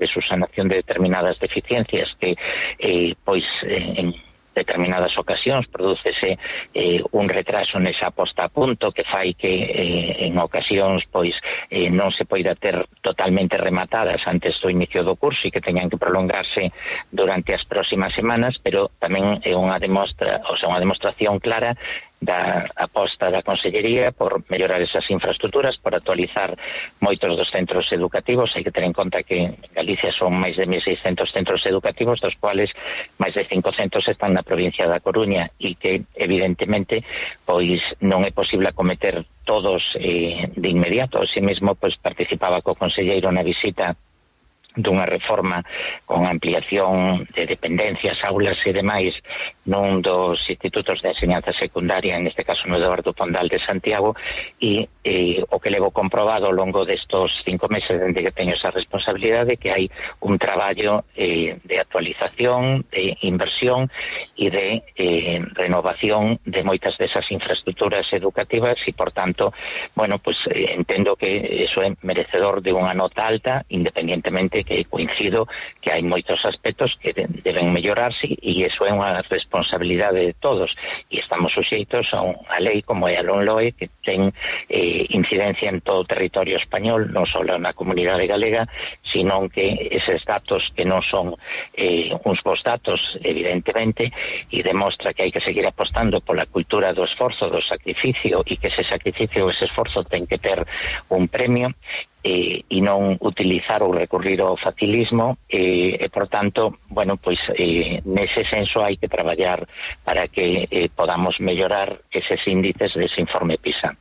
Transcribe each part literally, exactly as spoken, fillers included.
de subsanación de determinadas deficiencias que, eh, pois, eh, en determinadas ocasións prodúcese eh, un retraso nesa posta a punto que fai que eh, en ocasións pois eh, non se poida ter totalmente rematadas antes do inicio do curso e que teñan que prolongarse durante as próximas semanas, pero tamén é unha demostra, o sea, unha demostración clara da aposta da Consellería por mellorar esas infraestructuras, por actualizar moitos dos centros educativos. Hai que ter en conta que en Galicia son máis de mil seiscentos centros educativos, dos cuales máis de quinhentos están na provincia da Coruña, e que evidentemente pois non é posible acometer todos eh, de inmediato. Así mesmo pois participaba co conselleiro na visita dunha reforma con ampliación de dependencias, aulas e demais nun dos institutos de enseñanza secundaria, en este caso no Eduardo Pondal de Santiago, e eh, o que levo comprobado ao longo destos cinco meses dende que teño esa responsabilidade, que hai un traballo eh, de actualización, de inversión e de eh, renovación de moitas desas infraestructuras educativas, e por tanto, bueno, pues eh, entendo que eso é merecedor de unha nota alta, independientemente que coincido que hai moitos aspectos que deben mellorarse, e iso é unha responsabilidade de todos, e estamos suxeitos a unha lei como é a LOMLOE, que ten eh, incidencia en todo o territorio español, non só na comunidade galega, sino que eses datos que non son eh, uns bons datos, evidentemente, e demostra que hai que seguir apostando pola cultura do esforzo, do sacrificio, e que ese sacrificio, ese esforzo ten que ter un premio, e, e non utilizar ou recurrir ao facilismo, e, e por tanto, bueno, pois eh, nese senso hai que traballar para que eh, podamos mellorar eses índices dese informe PISA.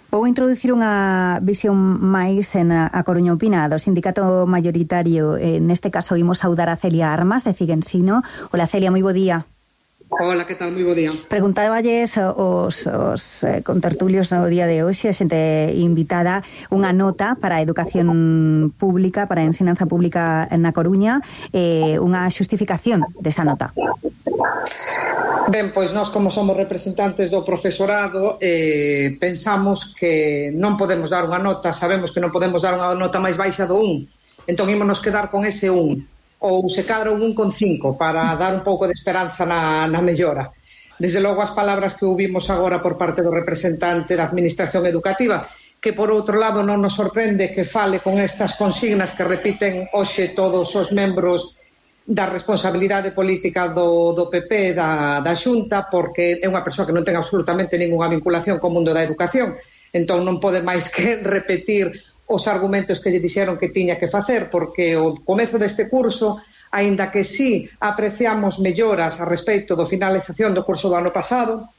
Vou introducir unha visión máis en a, a Coruña Opina, do sindicato mayoritario. En este caso, imos saudar a Celia Armas, de Cigensino. Hola, Celia, moi bo día. Hola, que tal? Moi bo día. Preguntáballes os, os eh, contertulios no día de hoxe, a xente invitada, unha nota para a educación pública, para a ensinanza pública na Coruña, eh, unha xustificación desa nota. Ben, pois nós como somos representantes do profesorado eh, pensamos que non podemos dar unha nota, sabemos que non podemos dar unha nota máis baixa do un, entón ímonos quedar con ese un, ou se cadra un un con cinco para dar un pouco de esperanza na, na mellora. Desde logo as palabras que ouvimos agora por parte do representante da Administración Educativa, que por outro lado non nos sorprende que fale con estas consignas que repiten hoxe todos os membros da responsabilidade política do, do P P da, da Xunta, porque é unha persoa que non ten absolutamente ninguna vinculación co mundo da educación, entón non pode máis que repetir os argumentos que lle dixeron que tiña que facer, porque o comezo deste curso, aínda que sí apreciamos melloras a respecto do finalización do curso do ano pasado,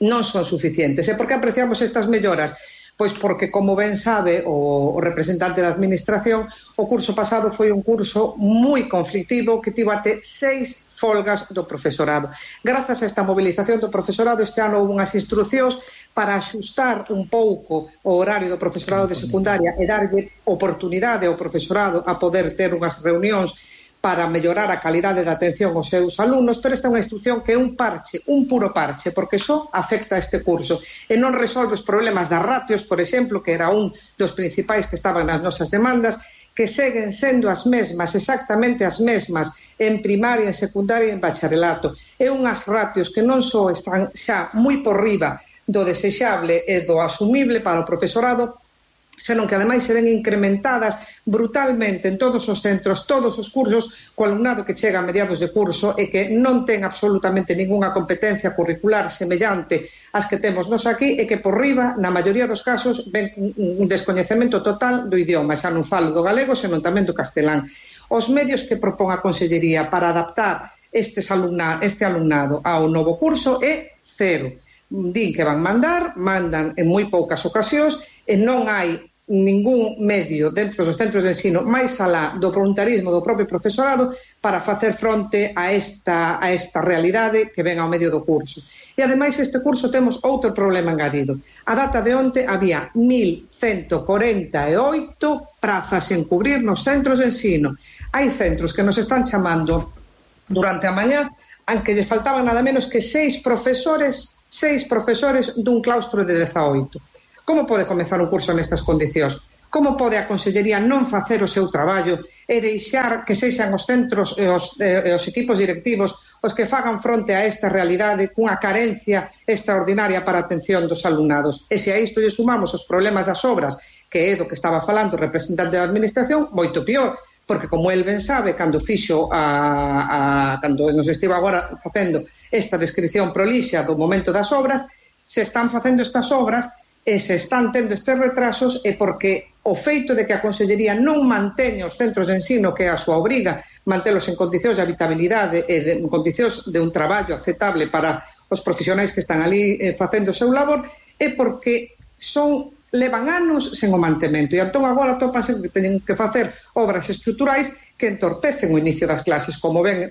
non son suficientes. E por que apreciamos estas melloras? Pois porque, como ben sabe o, o representante da Administración, o curso pasado foi un curso moi conflictivo que tivo até seis folgas do profesorado. Grazas a esta movilización do profesorado, este ano houve unhas instruccións para axustar un pouco o horario do profesorado de secundaria e darlle oportunidade ao profesorado a poder ter unhas reunións para mellorar a calidade da atención aos seus alumnos, pero esta é unha instrucción que é un parche, un puro parche, porque só afecta a este curso e non resolve os problemas das ratios, por exemplo, que era un dos principais que estaban nas nosas demandas, que seguen sendo as mesmas, exactamente as mesmas, en primaria, en secundaria e en bacharelato. É unhas ratios que non só están xa moi por riba do desexable e do asumible para o profesorado, senón que ademais se ven incrementadas brutalmente en todos os centros, todos os cursos, co alumnado que chega a mediados de curso e que non ten absolutamente ningunha competencia curricular semellante ás que temos nos aquí, e que por riba, na maioría dos casos, ven un descoñecemento total do idioma, xa non falo do galego, senón tamén do castelán. Os medios que propón a Consellería para adaptar estes alumna, este alumnado ao novo curso é cero. Din que van mandar, mandan en moi poucas ocasións, e non hai ningún medio dentro dos centros de ensino máis alá do voluntarismo do propio profesorado para facer fronte a esta, a esta realidade que ven ao medio do curso. E ademais este curso temos outro problema engadido. A data de onte había mil ciento corenta e oito prazas en cubrir nos centros de ensino. Hai centros que nos están chamando durante a mañá en que lle faltaban nada menos que seis profesores seis profesores dun claustro de dezaoito. Como pode comezar un curso nestas condicións? como pode a Consellería non facer o seu traballo e deixar que sexan os centros e os, e os equipos directivos os que fagan fronte a esta realidade cunha carencia extraordinaria para a atención dos alumnados. E se a isto lle sumamos os problemas das obras, que é do que estaba falando o representante da Administración, moito pior, porque como el ben sabe, cando fixo a, a, cando nos estivo agora facendo esta descripción prolixa do momento das obras, se están facendo estas obras e se están tendo estes retrasos é porque o feito de que a Consellería non manteña os centros de ensino, que é a súa obriga, mantelos en condicións de habitabilidade e de, en condicións de un traballo aceptable para os profesionais que están ali eh, facendo o seu labor, é porque son levan anos sen o mantemento e entón agora topanse que teñen que facer obras estruturais que entorpecen o inicio das clases, como ben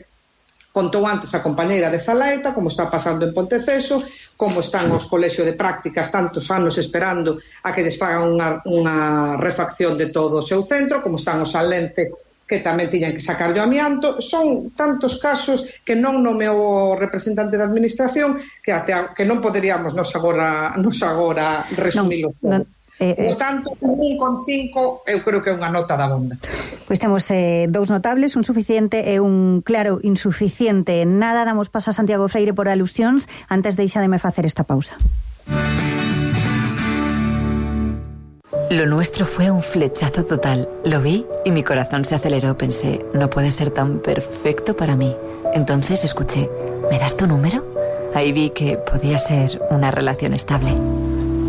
contou antes a compañeira de Zalaeta, como está pasando en Ponteceso, como están os colexios de prácticas tantos anos esperando a que desfagan unha, unha refacción de todo o seu centro, como están os Salente, que tamén tiñan que sacar o amianto. Son tantos casos que non nomeou o representante da Administración que até a, que non poderíamos nos agora, nos agora resumilo. Non, non. Eh, eh. Por tanto, un con cinco eu creo que é unha nota da bonda. Pois temos eh, dous notables, un suficiente e un claro insuficiente. Nada, damos paso a Santiago Freire por alusións. Antes deixademe facer esta pausa. Lo nuestro fue un flechazo total. Lo vi y mi corazón se aceleró. Pensé, no puede ser tan perfecto para mí. Entonces escuché, ¿me das tu número? Ahí vi que podía ser una relación estable.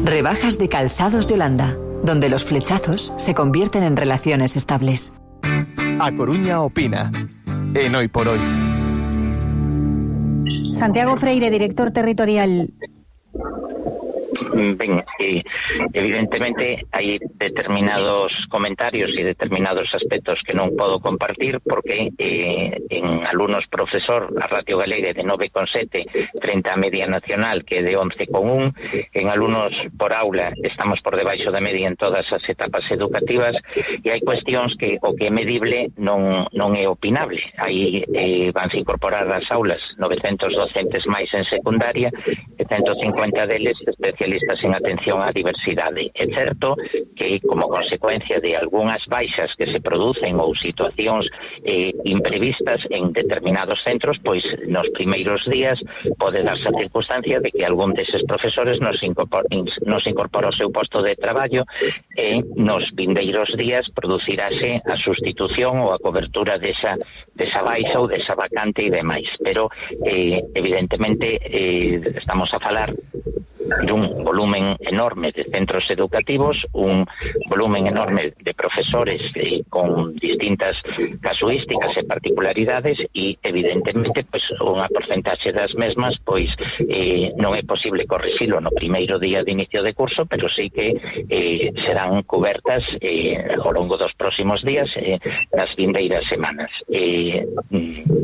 Rebajas de Calzados Yolanda, donde los flechazos se convierten en relaciones estables. A Coruña opina, en Hoy por Hoy. Santiago Freire, director territorial. Ben, eh, evidentemente hai determinados comentarios e determinados aspectos que non podo compartir porque eh, en alumnos profesor a ratio galega é de nove con sete frente á media nacional que é de once con un, en alumnos por aula estamos por debaixo da media en todas as etapas educativas e hai cuestións que o que é medible non, non é opinable. Aí eh, vanse incorporar ás aulas novecentos docentes máis en secundaria e ciento cincuenta deles especialistas en atención á diversidade. É certo que como consecuencia de algunhas baixas que se producen ou situacións eh, imprevistas en determinados centros, pois nos primeiros días pode darse a circunstancia de que algún deses profesores nos incorpora, nos incorpora o seu posto de traballo e nos vindeiros días producirase a sustitución ou a cobertura desa, desa baixa ou desa vacante e demais. Pero eh, evidentemente eh, estamos a falar dun volumen enorme de centros educativos, un volumen enorme de profesores eh, con distintas casuísticas e particularidades e evidentemente pois, unha porcentaxe das mesmas pois eh, non é posible corrixilo no primeiro día de inicio de curso, pero sí que eh, serán cobertas eh, ao longo dos próximos días eh, nas vindeiras semanas. Eh,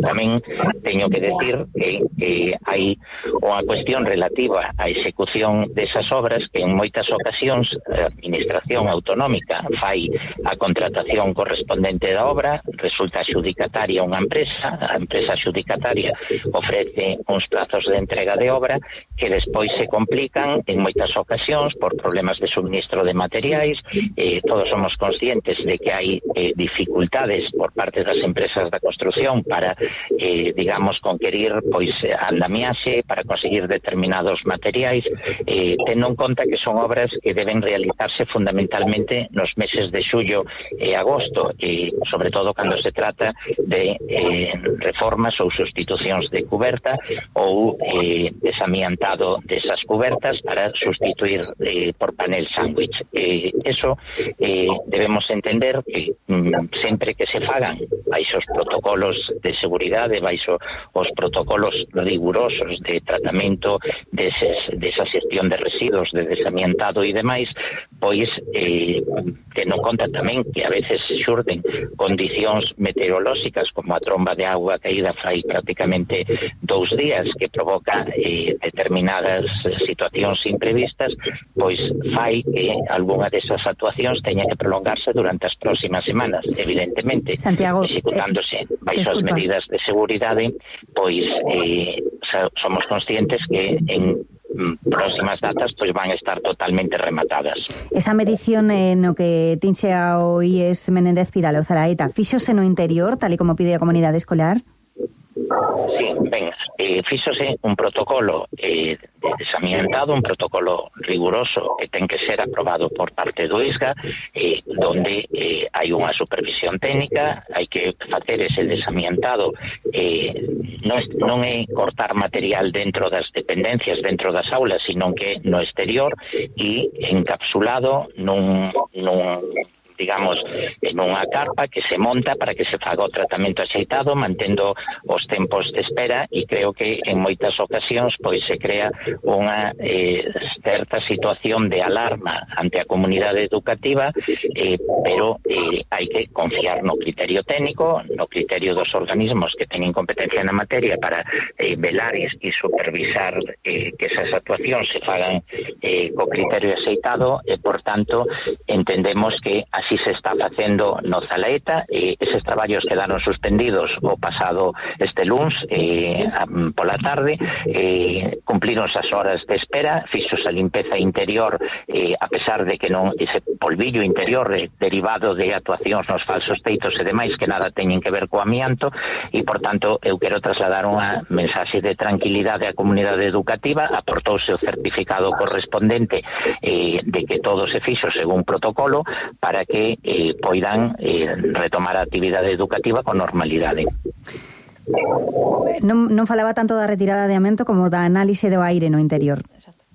tamén teño que decir que, que hai unha cuestión relativa á execución desas obras que en moitas ocasións a Administración Autonómica fai a contratación correspondente da obra, resulta xudicataria unha empresa, a empresa xudicataria ofrece uns plazos de entrega de obra que despois se complican en moitas ocasións por problemas de suministro de materiais. Eh, todos somos conscientes de que hai eh, dificultades por parte das empresas da construción para, eh, digamos, conquerir pois andamiaxe, para conseguir determinados materiais, eh, tendo en conta que son obras que deben realizarse fundamentalmente nos meses de xullo e agosto, e sobre todo cando se trata de eh, reformas ou sustitucións de cuberta ou eh, desamiantado desas cubertas para sustituir eh, por panel sándwich. Eh, eso eh, debemos entender que mm, sempre que se fagan baixo os protocolos de seguridade, baixo os protocolos rigurosos de tratamento deses, desa xestión de residuos, de desamiantado e demais, pois eh, tendo en conta tamén que a veces xurden condicións meteorolóxicas como a tromba de agua caída fai prácticamente dous días que provoca eh, determinadas situacións imprevistas, pois fai que algunha desas actuacións teña que prolongarse durante as próximas semanas, evidentemente. Santiago, executándose baixo eh, as medidas de seguridade, pois eh, somos conscientes que en mm, próximas datas pois van a estar totalmente rematadas. Esa medición eh, no que tinxe ao I E S Menéndez Pidal o Zaraeta, fíxose no interior, tal e como pide a comunidade escolar? Sí, ben, eh, fíxose un protocolo eh, de desamiantado, un protocolo riguroso que ten que ser aprobado por parte do I S G A, eh, donde eh, hai unha supervisión técnica, hai que facer ese desamiantado, eh, non, non é cortar material dentro das dependencias, dentro das aulas, sino que no exterior e encapsulado nun... nun digamos, en unha carpa que se monta para que se faga o tratamento axeitado, mantendo os tempos de espera, e creo que en moitas ocasións pois se crea unha eh, certa situación de alarma ante a comunidade educativa, eh, pero eh, hai que confiar no criterio técnico, no criterio dos organismos que teñen competencia na materia para eh, velar e supervisar eh, que esas actuacións se fagan eh, co criterio axeitado, e por tanto entendemos que así si se está facendo no Zalaeta. Eh, eses traballos quedaron suspendidos o pasado este luns eh, pola tarde, eh, cumplironse as horas de espera, fixos a limpeza interior, eh, a pesar de que non ese polvillo interior eh, derivado de actuacións nos falsos teitos e demais que nada teñen que ver co amianto, e por tanto eu quero trasladar unha mensaxe de tranquilidade á comunidade educativa. Aportouse o certificado correspondente eh, de que todo se fixo según protocolo para que Eh, poidan eh, retomar a actividade educativa con normalidade. Non, non falaba tanto da retirada de amianto como da análise do aire no interior. Exacto.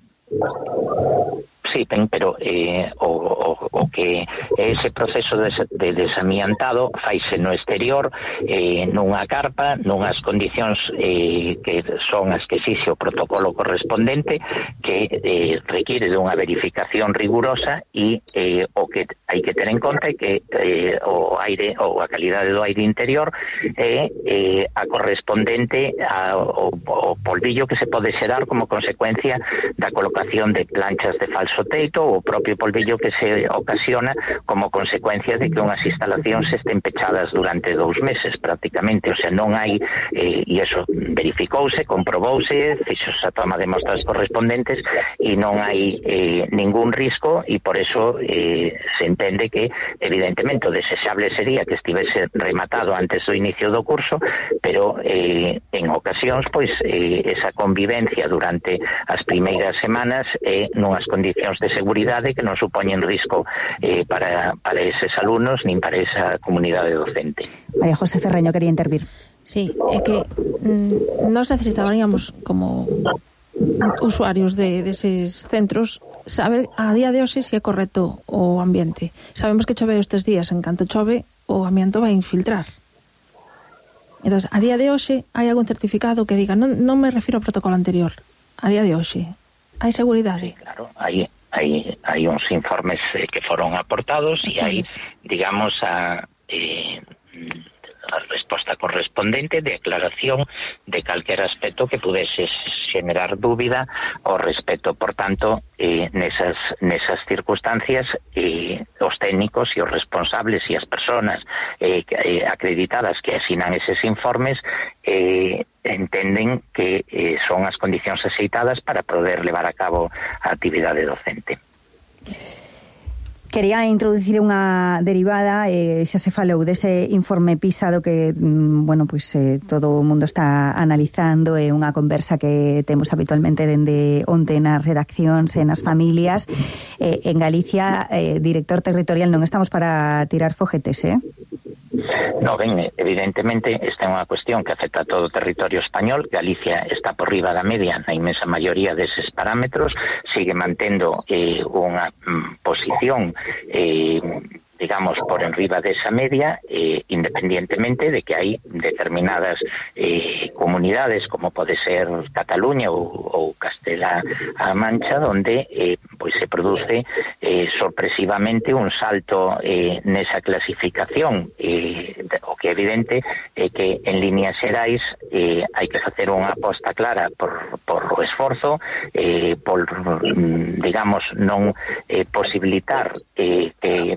Sí, pero eh, o, o, o que ese proceso de, de desamiantado faise no exterior, eh, nunha carpa, nunhas condicións eh, que son as que exixe o protocolo correspondente, que eh, requiere de unha verificación rigurosa, e eh, o que hai que ter en conta é que eh, o aire ou a calidade do aire interior é eh, a correspondente ao, ao polvillo que se pode xerar como consecuencia da colocación de planchas de falso teito, ou o propio polvillo que se ocasiona como consecuencia de que unhas instalacións estén pechadas durante dous meses prácticamente. O sea, non hai, eh, e iso verificouse, comprobouse, fixos a toma de mostras correspondentes, e non hai eh, ningún risco, e por eso eh, se entende que evidentemente o desexable sería que estivese rematado antes do inicio do curso, pero eh, en ocasións pois eh, esa convivencia durante as primeiras semanas é eh, nunhas condicións de seguridade que non supoñen risco eh, para, para eses alumnos nin para esa comunidade docente. María José Ferreño quería intervir. Sí, é que mm, nos necesitaríamos como usuarios de deses centros saber a día de hoxe se é correcto o ambiente. Sabemos que chove estes días, en canto chove o amianto vai infiltrar. Entón, a día de hoxe hai algún certificado que diga, non, non me refiro ao protocolo anterior, a día de hoxe hai seguridade? Sí, claro, hai, hai, hai uns informes eh, que foron aportados, e hai, digamos, a, eh, a resposta correspondente de aclaración de calquer aspecto que pudese xenerar dúbida ao respecto. Por tanto, eh, nesas, nesas circunstancias, eh, os técnicos e os responsables e as persoas eh, eh, acreditadas que asinan eses informes eh, entenden que eh, son as condicións axeitadas para poder levar a cabo a actividade docente. Quería introducir unha derivada, eh, xa se falou dese informe PISA do que, bueno, pois eh, todo o mundo está analizando, é eh, unha conversa que temos habitualmente dende onte nas redaccións e nas familias. Eh, en Galicia, eh, director territorial, non estamos para tirar foguetes, eh? No, ben, evidentemente esta é unha cuestión que afecta a todo o territorio español. Galicia está por riba da media na inmensa maioría deses parámetros, sigue mantendo eh, unha mm, posición eh, digamos, por enriba desa media, eh, independientemente de que hai determinadas eh, comunidades, como pode ser Cataluña ou, ou Castela-A Mancha, donde eh, pois se produce eh, sorpresivamente un salto eh, nesa clasificación. Eh, o que é evidente é que en líneas xerais eh, hai que facer unha aposta clara por, por o esforzo, eh, por, digamos, non eh, posibilitar eh, que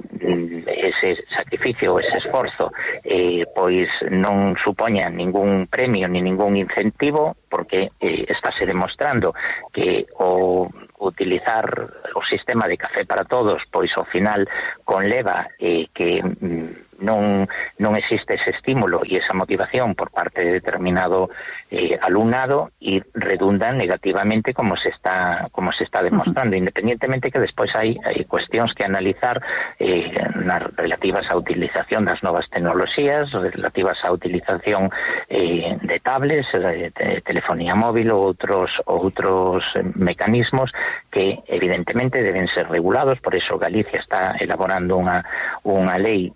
ese sacrificio, ese esforzo, eh, pois non supoña ningún premio ni ningún incentivo, porque eh, estáse demostrando que o utilizar o sistema de café para todos, pois ao final conleva eh, que mm, non non existe ese estímulo e esa motivación por parte de determinado eh, alumnado e redundan negativamente como se está como se está demostrando, uh-huh. independientemente que despois hai, hai cuestións que analizar eh, nas relativas á utilización das novas tecnoloxías, relativas á utilización eh, de tablets, de, de telefonía móvil ou outros outros mecanismos que evidentemente deben ser regulados. Por eso Galicia está elaborando unha unha lei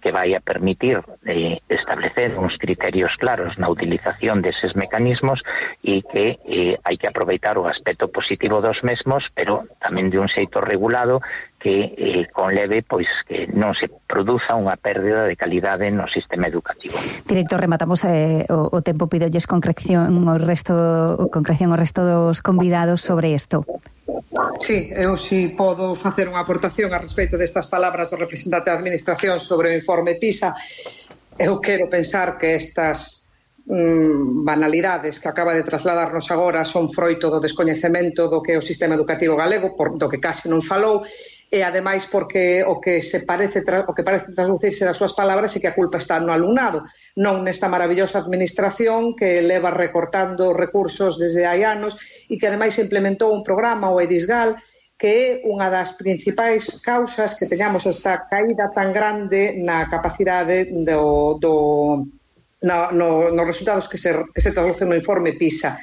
que vai a permitir eh, establecer uns criterios claros na utilización deses mecanismos e que eh, hai que aproveitar o aspecto positivo dos mesmos, pero tamén de un xeito regulado que eh, conleve pois que non se produza unha pérdida de calidade no sistema educativo. Director, rematamos eh, o, o tempo, pidolles concreción o resto concreción o resto dos convidados sobre isto. Sí, eu si podo facer unha aportación a respecto destas palabras do representante da Administración sobre o informe PISA. Eu quero pensar que estas mm, banalidades que acaba de trasladarnos agora son froito do descoñecemento do que é o sistema educativo galego, por, do que case non falou, e ademais porque o que se parece o que parece traducirse das súas palabras é que a culpa está no alumnado, non nesta maravillosa administración que leva recortando recursos desde hai anos e que ademais implementou un programa, o EDISGAL, que é unha das principais causas que teñamos esta caída tan grande na capacidade do, do no, no, nos resultados que se, que se traducen no informe PISA.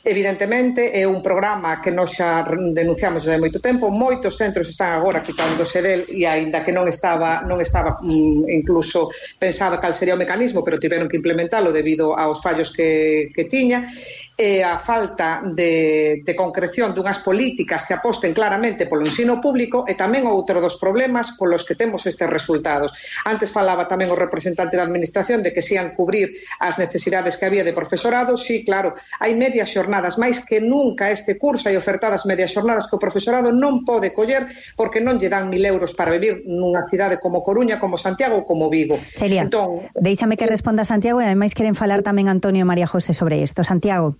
Evidentemente é un programa que nós xa denunciamos desde moito tempo, moitos centros están agora quitándose del e aínda que non estaba non estaba mm, incluso pensado cal sería o mecanismo, pero tiveron que implementalo debido aos fallos que, que tiña, e a falta de, de concreción dunhas políticas que aposten claramente polo ensino público e tamén outro dos problemas polos que temos estes resultados. Antes falaba tamén o representante da Administración de que se ian cubrir as necesidades que había de profesorado. Sí, claro, hai medias xornadas, máis que nunca este curso hai ofertadas medias xornadas que o profesorado non pode coller porque non lle dan mil euros para vivir nunha cidade como Coruña, como Santiago ou como Vigo. Celia, entón, deixame que sí. responda Santiago e ademais queren falar tamén Antonio e María José sobre isto. Santiago.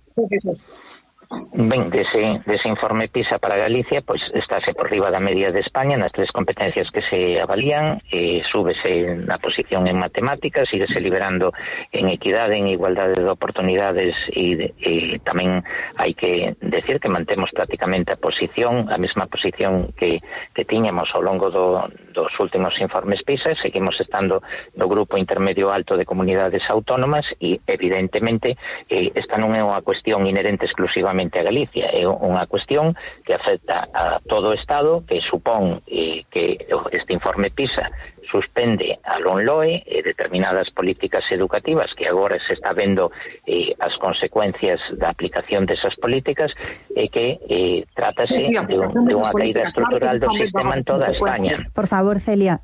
Ben, dese, dese informe PISA para Galicia, pois estáse por riba da media de España nas tres competencias que se avalían, eh, súbese na posición en matemáticas, síguese liberando en equidade, en igualdade de oportunidades e, de, e tamén hai que decir que mantemos prácticamente a posición, a mesma posición que, que tiñamos ao longo do, dos últimos informes PISA. Seguimos estando no grupo intermedio alto de comunidades autónomas e evidentemente eh, esta non é unha cuestión inherente exclusivamente a Galicia, é unha cuestión que afecta a todo o Estado, que supón eh, que este informe PISA suspende a LOMLOE e determinadas políticas educativas que agora se está vendo eh, as consecuencias da aplicación desas políticas e que eh, trátase de, un, de unha caída estrutural do sistema en toda España. Por favor, Celia.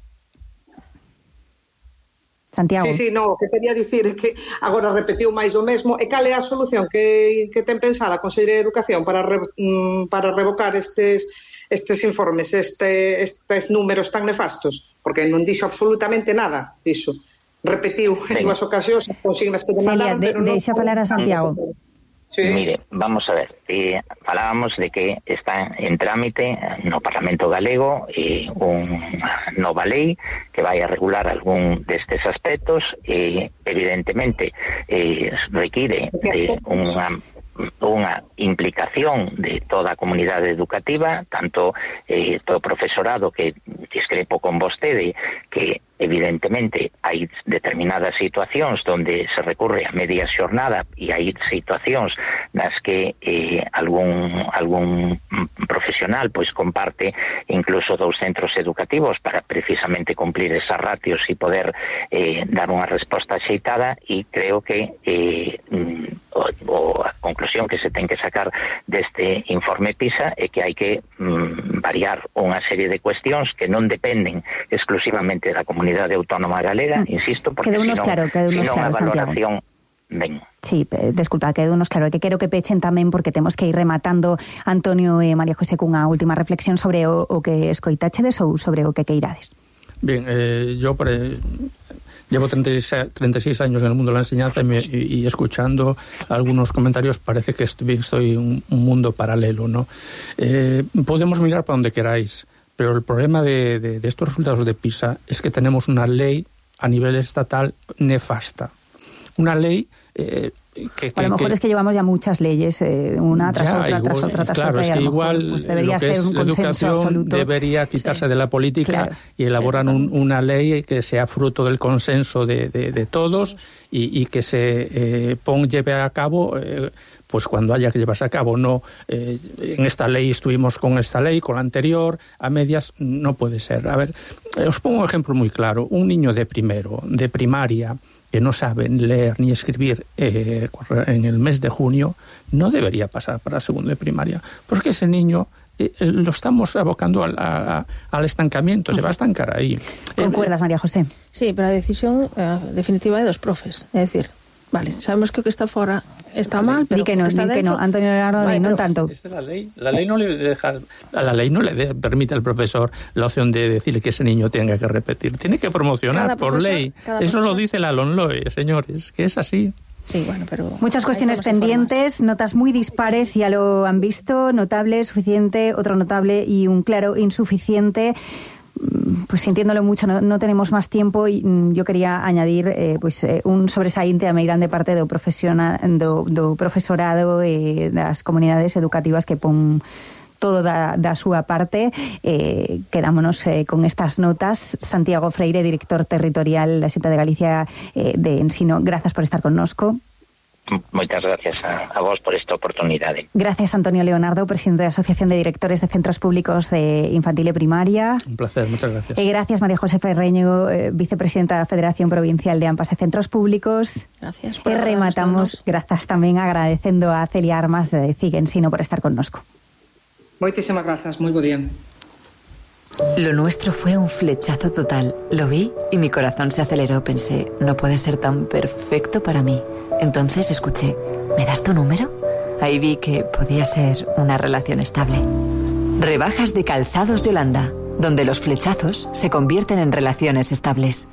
Santiago. Sí, sí, no, o que quería dicir é que agora repetiu máis o mesmo. E cal é a solución que, que ten pensada a Consellería de Educación para, re, para revocar estes, estes informes, este, estes números tan nefastos? Porque non dixo absolutamente nada disso. Repetiu en dúas ocasións as consignas que demandaron. Celia, de, deixa falar a Santiago. Sí. Mire, vamos a ver, eh, falábamos de que está en trámite no Parlamento Galego eh, unha nova lei que vai a regular algún destes aspectos e eh, evidentemente eh, require de unha unha implicación de toda a comunidade educativa, tanto eh, todo profesorado, que discrepo con vostede que evidentemente hai determinadas situacións onde se recurre a media xornada e hai situacións nas que eh, algún, algún profesional pois comparte incluso dous centros educativos para precisamente cumplir esas ratios e poder eh, dar unha resposta axeitada, e creo que eh, o, o a conclusión que se ten que sacar deste informe PISA é que hai que mm, variar unha serie de cuestións que non dependen exclusivamente da comunidade autónoma galega, insisto, porque senón, claro, senón a valoración ben. Sí, desculpa, que unos claro, que quero que pechen tamén porque temos que ir rematando, Antonio e María José, cunha última reflexión sobre o, o que escoitachedes ou sobre o que queirades. Bien, eh, yo pre... llevo treinta y seis años en el mundo de la enseñanza y, me, y, y escuchando algunos comentarios parece que estoy, estoy en un mundo paralelo, ¿no? Eh, podemos mirar para donde queráis, pero el problema de, de, de estos resultados de PISA es que tenemos una ley a nivel estatal nefasta. Una ley eh, que, que... A lo mejor que, es que llevamos ya muchas leyes, eh, una tras ya, otra, igual, tras otra, tras claro, otra. Claro, es que igual pues debería lo que ser es un la consenso educación absoluto. debería quitarse sí. de la política claro. y elaborar sí, un, una ley que sea fruto del consenso de, de, de todos y, y que se eh, pon, lleve a cabo... Eh, pues cuando haya que llevarse a cabo, no eh, en esta ley estuvimos con esta ley, con la anterior, a medias, no puede ser. A ver, eh, os pongo un ejemplo muy claro. Un niño de primero, de primaria, que no sabe leer ni escribir eh, en el mes de junio, no debería pasar para segundo de primaria, porque ese niño eh, lo estamos abocando al, a, al estancamiento, uh-huh. se va a estancar ahí. ¿Concuerdas, María José? Sí, pero la decisión eh, definitiva de dos profes, es decir, vale, sabemos que o que está fora está mal, pero di que no, está di que dentro... no, Antonio Leonardo, vale, non tanto. Es la ley, la ley no le deja, la ley no le de, permite al profesor la opción de decirle que ese niño tenga que repetir, tiene que promocionar por ley. Eso lo dice la LOMLOE, señores, que es así. Sí, bueno, pero... Muchas cuestiones pendientes, notas muy dispares, ya lo han visto, notable, suficiente, otro notable y un claro insuficiente. Pues sintiéndolo mucho, no, no tenemos más tiempo y mm, yo quería añadir eh, pues, eh, un sobresaínte a meirande parte do, do, do profesorado e eh, das comunidades educativas que pon todo da, da súa parte. Eh, quedámonos eh, con estas notas. Santiago Freire, director territorial da Xunta de Galicia eh, de Ensino, grazas por estar connosco. Moitas gracias a, a vos por esta oportunidade. Gracias, Antonio Leonardo, presidente da Asociación de Directores de Centros Públicos de Infantil e Primaria. Un placer, muchas gracias. E gracias, María José Ferreño, eh, vicepresidenta da Federación Provincial de AMPAs e Centros Públicos. Gracias. E rematamos, grazas tamén agradecendo a Celia Armas de CIG Ensino por estar connosco. Moitísimas grazas, moi bo día. Lo nuestro fue un flechazo total. Lo vi y mi corazón se aceleró. Pensé, no puede ser tan perfecto para mí. Entonces escuché, ¿me das tu número? Ahí vi que podía ser una relación estable. Rebajas de Calzados Yolanda, donde los flechazos se convierten en relaciones estables.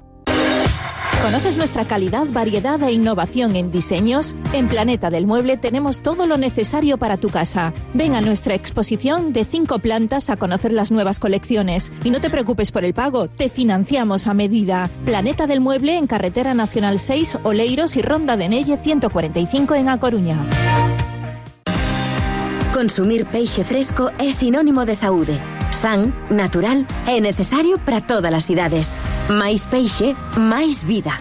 ¿Conoces nuestra calidad, variedad e innovación en diseños? En Planeta del Mueble tenemos todo lo necesario para tu casa. Ven a nuestra exposición de cinco plantas a conocer las nuevas colecciones. Y no te preocupes por el pago, te financiamos a medida. Planeta del Mueble en Carretera Nacional seis, Oleiros y Ronda de Nelle ciento cuarenta y cinco en A Coruña. Consumir peixe fresco é sinónimo de saúde. San, natural e necesario para todas as idades. Máis peixe, máis vida.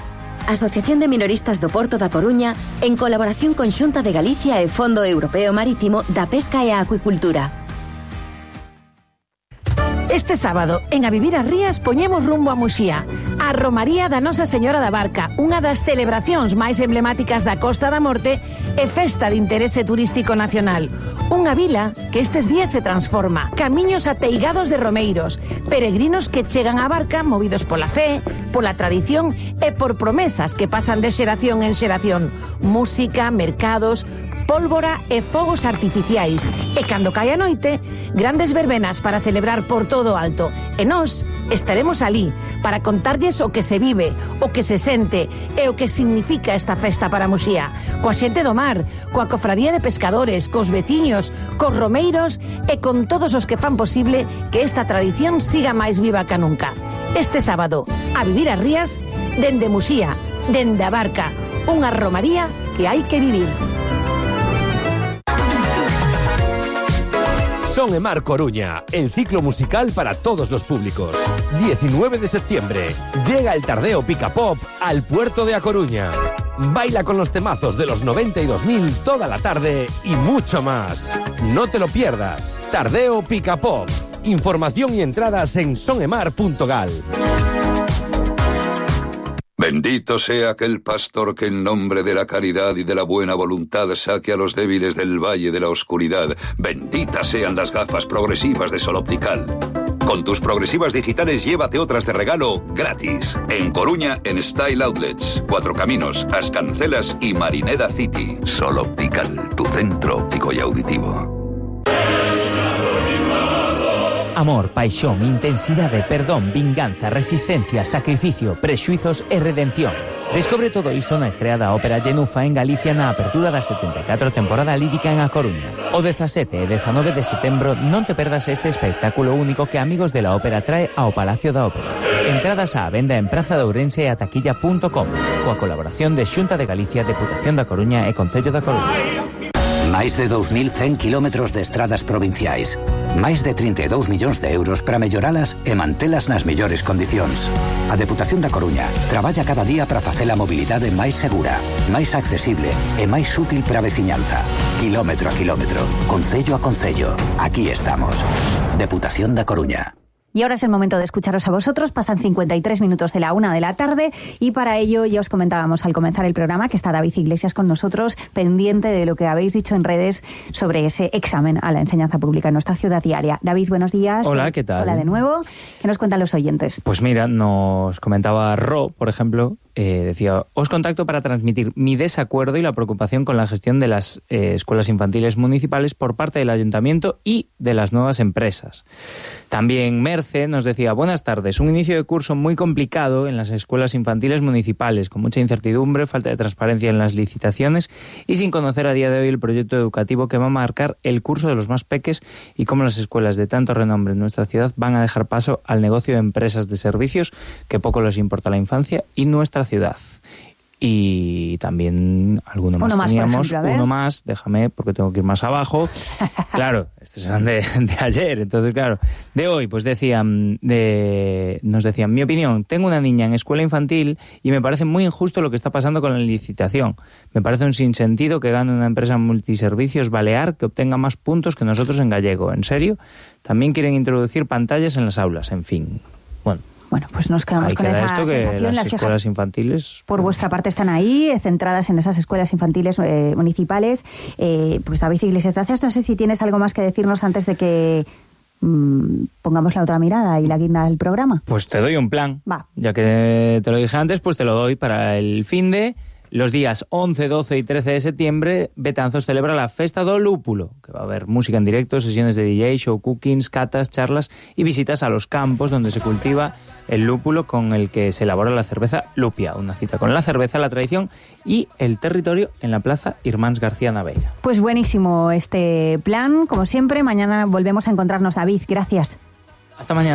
Asociación de Minoristas do Porto da Coruña en colaboración con Xunta de Galicia e Fondo Europeo Marítimo da Pesca e a Acuicultura. Este sábado, en A Vivir as Rías, poñemos rumbo a Muxía. A Romaría da Nosa Señora da Barca, unha das celebracións máis emblemáticas da Costa da Morte e festa de interese turístico nacional. Unha vila que estes días se transforma. Camiños ateigados de romeiros, peregrinos que chegan á barca movidos pola fe, pola tradición e por promesas que pasan de xeración en xeración. Música, mercados, pólvora e fogos artificiais. E cando cae a noite, grandes verbenas para celebrar por todo alto. E nós estaremos alí para contarlles o que se vive, o que se sente e o que significa esta festa para Muxía. Coa xente do mar, coa cofradía de pescadores, cos veciños, cos romeiros e con todos os que fan posible que esta tradición siga máis viva que nunca. Este sábado, A Vivir as Rías, dende Muxía, dende a Barca, unha romaría que hai que vivir. Son e Mar Coruña, el ciclo musical para todos los públicos. diecinueve de septiembre, llega el Tardeo Pica Pop al puerto de A Coruña. Baila con los temazos de los noventa y dos mil toda la tarde y mucho más. No te lo pierdas. Tardeo Pica Pop. Información y entradas en sonemar punto gal. Bendito sea aquel pastor que en nombre de la caridad y de la buena voluntad saque a los débiles del valle de la oscuridad. Benditas sean las gafas progresivas de Sol Optical. Con tus progresivas digitales llévate otras de regalo gratis. En Coruña, en Style Outlets, Cuatro Caminos, As Cancelas y Marineda City. Sol Optical, tu centro óptico y auditivo. Amor, paixón, intensidade, perdón, vinganza, resistencia, sacrificio, prexuizos e redención. Descobre todo isto na estrea da Ópera Genufa en Galicia na apertura da setenta e catro temporada lírica en A Coruña. O dezasete e dezanove de setembro non te perdas este espectáculo único que Amigos de la Ópera trae ao Palacio da Ópera. Entradas á venda en Praza de Ourense e a taquilla punto com, coa colaboración de Xunta de Galicia, Deputación da Coruña e Concello da Coruña. Máis de dous mil cen kilómetros de estradas provinciais. Máis de trinta e dous millóns de euros para melloralas e mantelas nas mellores condicións. A Deputación da Coruña traballa cada día para facer a mobilidade máis segura, máis accesible e máis útil para a veciñanza. Kilómetro a kilómetro, concello a concello. Aquí estamos. Deputación da Coruña. Y ahora es el momento de escucharos a vosotros. Pasan cincuenta y tres minutos de la una de la tarde y para ello ya os comentábamos al comenzar el programa que está David Iglesias con nosotros, pendiente de lo que habéis dicho en redes sobre ese examen a la enseñanza pública en nuestra ciudad diaria. David, buenos días. Hola, ¿qué tal? Hola de nuevo. ¿Qué nos cuentan los oyentes? Pues mira, nos comentaba Ro, por ejemplo, eh, decía, os contacto para transmitir mi desacuerdo y la preocupación con la gestión de las eh, escuelas infantiles municipales por parte del ayuntamiento y de las nuevas empresas. También Merce nos decía, buenas tardes, un inicio de curso muy complicado en las escuelas infantiles municipales, con mucha incertidumbre, falta de transparencia en las licitaciones y sin conocer a día de hoy el proyecto educativo que va a marcar el curso de los más peques y cómo las escuelas de tanto renombre en nuestra ciudad van a dejar paso al negocio de empresas de servicios que poco les importa la infancia y nuestra ciudad. Y también alguno más, uno más teníamos, ejemplo, uno más, déjame porque tengo que ir más abajo. Claro, estos eran de, de ayer, entonces claro, de hoy pues decían, de, nos decían, mi opinión, tengo una niña en escuela infantil y me parece muy injusto lo que está pasando con la licitación. Me parece un sinsentido que gane una empresa multiservicios balear que obtenga más puntos que nosotros en gallego. ¿En serio? También quieren introducir pantallas en las aulas, en fin. Bueno. Bueno, pues nos quedamos ahí con queda esa esto, que sensación. las, las escuelas quejas infantiles por vuestra parte están ahí, eh, centradas en esas escuelas infantiles eh, municipales. Eh, pues David Iglesias, gracias. No sé si tienes algo más que decirnos antes de que mmm, pongamos la otra mirada y la guinda del programa. Pues te doy un plan. Va. Ya que te lo dije antes, pues te lo doy para el fin de... Los días once, doce y trece de septiembre, Betanzos celebra la Festa do Lúpulo, que va a haber música en directo, sesiones de D J, show cookings, catas, charlas y visitas a los campos donde se cultiva el lúpulo con el que se elabora la cerveza Lupia. Una cita con la cerveza, la tradición y el territorio en la Plaza Irmáns García Naveira. Pues buenísimo este plan, como siempre. Mañana volvemos a encontrarnos, David. Gracias. Hasta mañana.